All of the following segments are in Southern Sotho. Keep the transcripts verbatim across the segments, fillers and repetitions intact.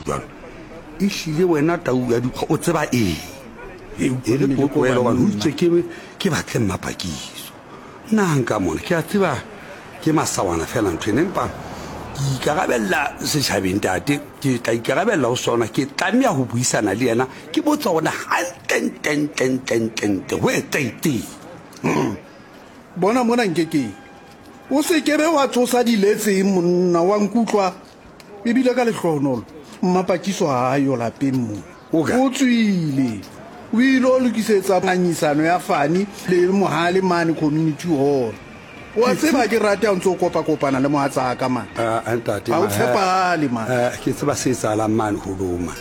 jwalo ehlile wena tau ya dikgwa o tseba eng? E E re mmele ke o tlohele ko hobane ho banna. itswe ke ke batle mmapakiso. Nna nka mona ke a tseba ke masawana fela ntho ena, empa ke ikarabella setjhabeng ntate, ke tla ikarabella ho sona. Ke tlameha ho buisana le yena, ke botsa hore na hantlentlentlentlentlentle ho etsahetseng. Bona mona nkekeng, o se kebe wa tsosa diletseng monna wa nkutlwa. Ebile ka lehlohonolo mmapakiso ha a yo lapeng mona. O kae? O tswile, o ile o lokisetsa ngangisano ya Fani le Mohale mane community hall. Wa tseba ke rate ha o ntse o kopakopana le mohatsaka mane. Ah, ah, ntate, Ha o ma- tshepahale, man. Eh, ke tseba se etsahalang mane holong mane.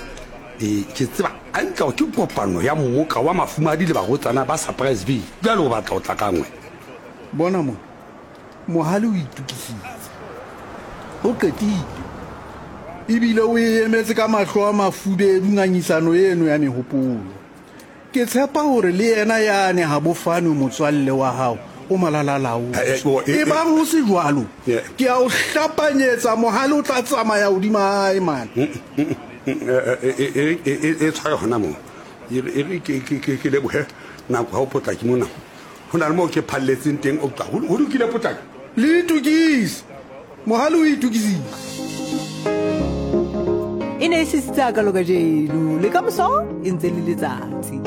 Ee, ke tseba hantle hore ke kopano ya mmoka wa mafumahadi le barwetsana ba Surprise Ville. Jwale o batla ho tla ka nngwe. Bona mona, Mohale o itokisitse, o qetile, ebile o e emetse ka mahlo a mafubedu ngangisano eno ya mehopolo. Ke tshepa hore le yena yane ha bofane motswalle wa hao o malalalaotswe. Eh, eh, oh, eh, eh. Ebang ho se jwalo, Yeah. ke a o hlapanyetsa Mohale o tla tsamaya hodima hae mane. E e tshware hona moo. E re e re ke ke ke ke lebohe nako ha o potlaki mona. Ho na le moo ke phalletseng teng o tla. Ho lokile potlaki. Le itokise, Mohale o itokisitse. E ne e sisitse hakalo kajeno, le ka moso e ntse le letsatsi.